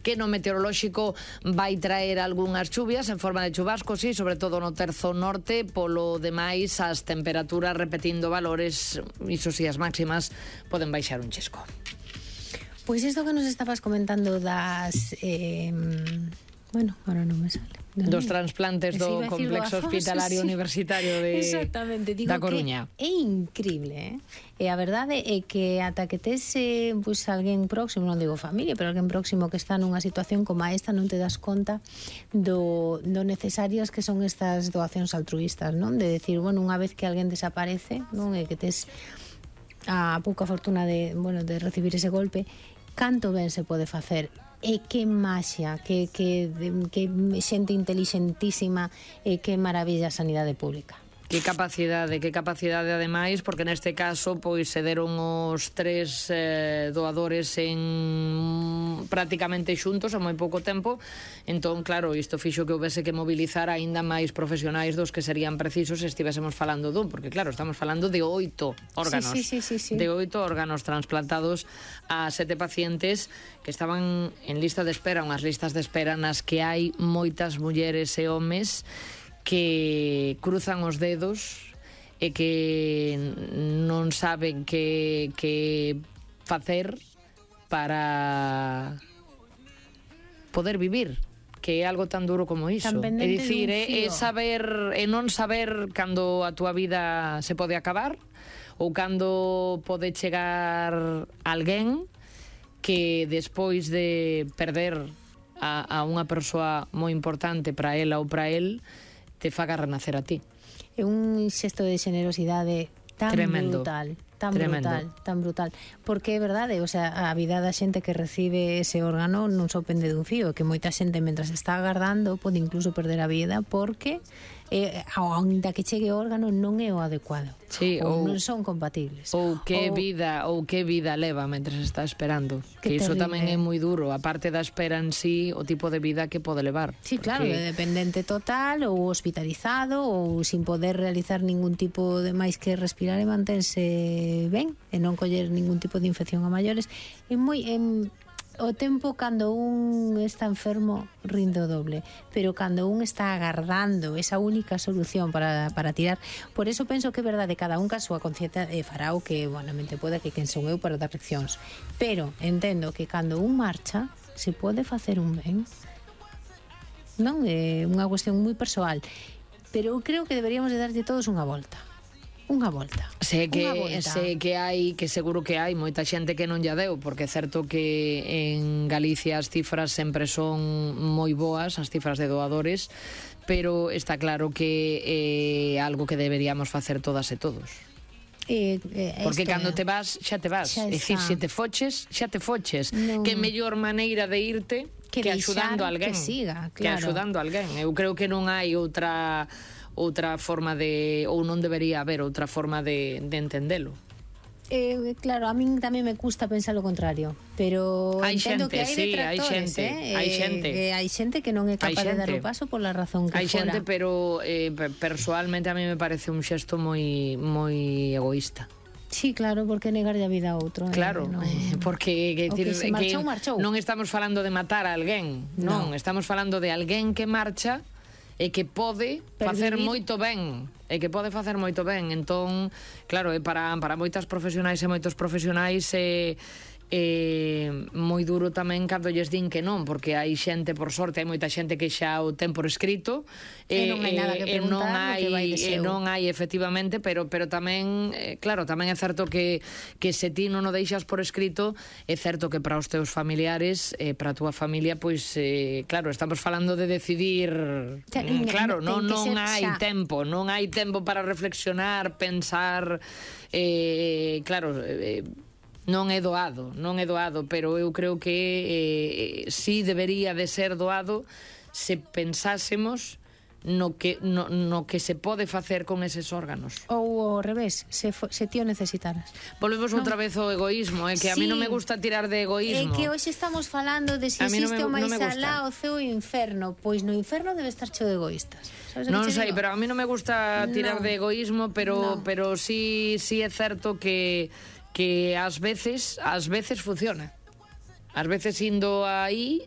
que no meteorolóxico vai traer algunhas chuvias en forma de chubascos, sí, sobre todo no terzo norte. Polo demais, as temperaturas repetindo valores, iso si, as máximas poden baixar un chisco. Pois isto que nos estabas comentando das... bueno, ahora non me sale. Dos trasplantes do complexo hospitalario universitario da Coruña. É increíble, E a verdade é que ata que tes pois alguén próximo, non digo familia, pero alguén próximo que está nunha situación como esta, non te das conta do necesarias que son estas doacións altruístas, non? De decir, bueno, unha vez que alguén desaparece, non? E que tes a pouca fortuna de recibir ese golpe, canto ben se pode facer. E que maxia, que xente intelixentísima, e que maravilla a sanidade pública. Que capacidade ademais, porque neste caso pois se deron os 3 doadores en prácticamente xuntos a moi pouco tempo. Entón, claro, isto fixo que houvese que mobilizar aínda máis profesionais dos que serían precisos se estivésemos falando dun, porque claro, estamos falando de 8 órganos. Sí. De 8 órganos transplantados a 7 pacientes que estaban en lista de espera, unhas listas de espera nas que hai moitas mulleres e homes que cruzan os dedos e que non saben que facer para poder vivir, que é algo tan duro como iso. É dicir, é saber e non saber cando a túa vida se pode acabar ou cando pode chegar alguén que despois de perder a unha persoa moi importante para ela ou para el te faga renacer a ti. É un xesto de xenerosidade tan tremendo, brutal, tan brutal, porque é verdade, o sea, a vida da xente que recibe ese órgano non só pende dun fío, que moita xente mentras está agardando pode incluso perder a vida porque aínda que chegue o órgano non é o adecuado, sí, ou non son compatibles, ou que vida leva mentres está esperando, que iso tamén é moi duro, a parte da espera en sí, o tipo de vida que pode levar. Sí, claro, é dependente total ou hospitalizado ou sin poder realizar ningún tipo de máis que respirar e mantense ben e non coller ningún tipo de infección a maiores. É moi o tempo cando un está enfermo rinde o doble, pero cando un está agardando esa única solución para tirar, por eso penso que é verdade, cada un ca súa conciencia fará o que bonamente pode, que quen son eu para dar leccións, pero entendo que cando un marcha se pode facer un ben, non é unha cuestión moi persoal, pero eu creo que deberíamos de darlle todos unha volta. Sei que hai, que seguro que hai moita xente que non lla deu, porque é certo que en Galicia as cifras sempre son moi boas, as cifras de doadores, pero está claro que é algo que deberíamos facer todas e todos. Porque cando te vas, xa te vas. É dicir, se te foches, xa te foches. No. Que mellor maneira de irte que axudando a alguén. Que siga, claro. Que axudando a alguén. Eu creo que non hai outra forma de, ou non debería haber outra forma de entendelo. Claro, a min tamén me custa pensar o contrario, pero hai entendo xente, que hai detractores, hai xente que non é capaz de dar o paso pola razón que hai fora. Hai xente, pero personalmente a mí me parece un xesto moi egoísta. Sí, claro, porque negarlle a vida a outro. Claro, porque marchou. Non estamos falando de matar a alguén, non, estamos falando de alguén que marcha e que pode facer moito ben, entón, claro, para moitas profesionais e moitos profesionais moi duro tamén cando lles din que non, porque hai xente, por sorte, hai moita xente que xa o ten por escrito e non hai nada que preguntar, non hai efectivamente, pero tamén claro, tamén é certo que se ti non o deixas por escrito, é certo que para os teus familiares, para a túa familia, pois claro, estamos falando de decidir, claro, non hai tempo, non hai tempo para reflexionar, pensar, claro, non é doado, pero eu creo que si debería de ser doado se pensásemos no que se pode facer con eses órganos. Ou ao revés, se ti o necesitaras. Volvemos outra vez ao egoísmo, que a mí non me gusta tirar de egoísmo. É que hoxe estamos falando de se existe o máis alá, o ceo e o inferno. Pois no inferno debe estar cheo de egoístas. Non sei, pero a mí non me gusta tirar de egoísmo, pero sí é certo que ás veces funciona. Ás veces indo aí